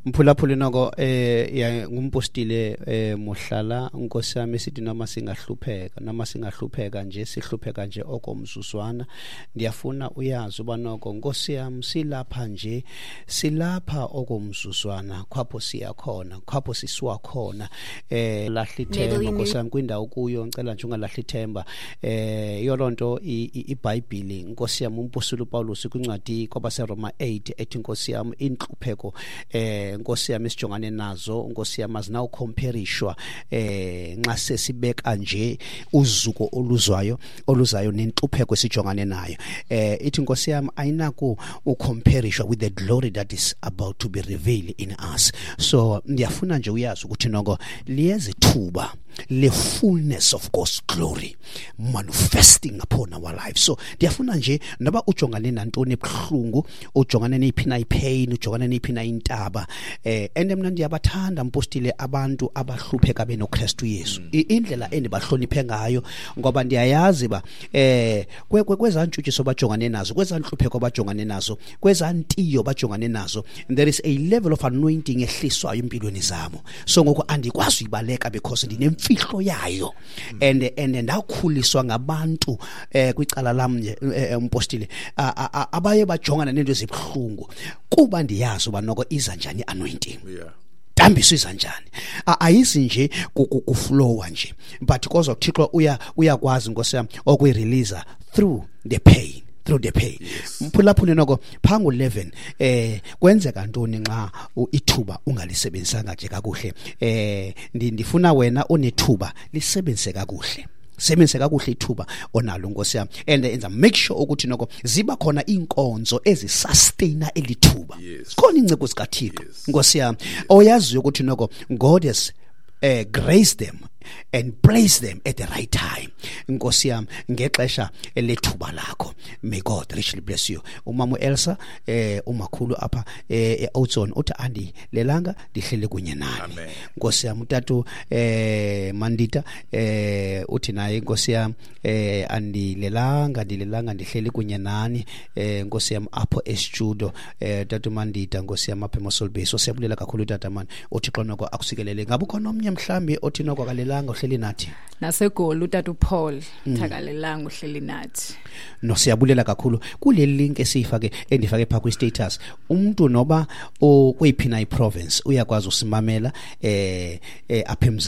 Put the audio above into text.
Mphulaphuli noko ya ngumpostile Mohlala, Nkosi yami, sithi noma singahlupheka nje, sihlupheka nje okomzuzwana. Ndiyafuna uyazi uba noko, Nkosi yami, silapha nje, silapha okomzuzwana, khwapho siyakhona, khwapho sisiwa khona. Lahla ithemba, Nkosi yami, kwindawo kuyo. Ngicela nje ungalahli ithemba. Iyo lonto iBhayibheli, Nkosi yami, umpostoli uPaulus kwincwadi kwabaseRoma 8 ethi, Nkosi yami, inhlupheko Nkosi yami sijongane nazo, Nkosi yami, azinawucomparishwa nxa sesibeka nje uzuko oluzwayo oluzayo nenhlupheko esijongane nayo. Ithi, Nkosi yami, ayinaku ucomparishwa with the glory that is about to be revealed in us. So ndiyafuna nje uyazi ukuthi noko liyeza ithuba le fullness of God's glory manifesting upon our lives. So ndiyafuna nje, noba ujongane nantoni ebuhlungu, ujongane neyiphi na ipain, ujongane neyiphi na intaba, and mina ndiyabathanda, mpostile, abantu abahlupheka benoKristu Yesu. Indlela endibahloniphe ngayo, ngoba ndiyayazi ba kwezantshutshiso bajongane nazo, kwezanhlupheko bajongane nazo, kwezantiyo bajongane nazo, there is a level of anointing ehliswayo empilweni zabo. So ngoku andikwazi uyibaleka because ndinemfihlo yayo and ndakhuliswa ngabantu kwicala lam nje, umpostile, abaye bajongana nento ezibuhlungu, kuba ndiyazi uba noko iza njani anointing, tambiso iza njani. Ayisi nje kuflowa nje, but kodwa uThixo uyakwazi, Nkosi yami, okuyirelease through the pain, through the pain. Mphulaphuli noko, phangu 11 kwenzeka ntoni nxa ithuba ungalisebenzisanga nje kakuhle? Ndifuna wena onethuba lisebenzise kakuhle, sebenzise kakuhle ithuba onalo, Nkosi yami, and enza make sure ukuthi noko ziba khona inkonzo ezisustaina elithuba. Khona inceko zikaThixo, Nkosi yami, oyaziyo ukuthi noko God has grace them and place them at the right time, Nkosi yami, ngexesha lethuba lakho. May God richly bless you. Umama uElsa, umakhulu apha eOzone, uthi andi lelanga ndihlele kunye nani. Amen. Nkosi yami, utatu Mandita uthi naye, Nkosi yami, andilelanga, ndilelanga, ndihleli kunye nani, Nkosi yami, apho estudio, tatu Mandita, Nkosi yami, apha eMossel Bay. So siyabulela kakhulu, tata man, uThixo noko akusikelele. Ngabe ukhona omnye mhlambi othi noko akalelanga, uhleli nathi? Nasegoli utata uPaul thakalelanga, uhleli nathi. No, siyabulela kakhulu. Kule link esiyifake, endifake pha kwi-status, umuntu noba kweyiphi na iprovince uyakwazi usimamela apha eMzantsi.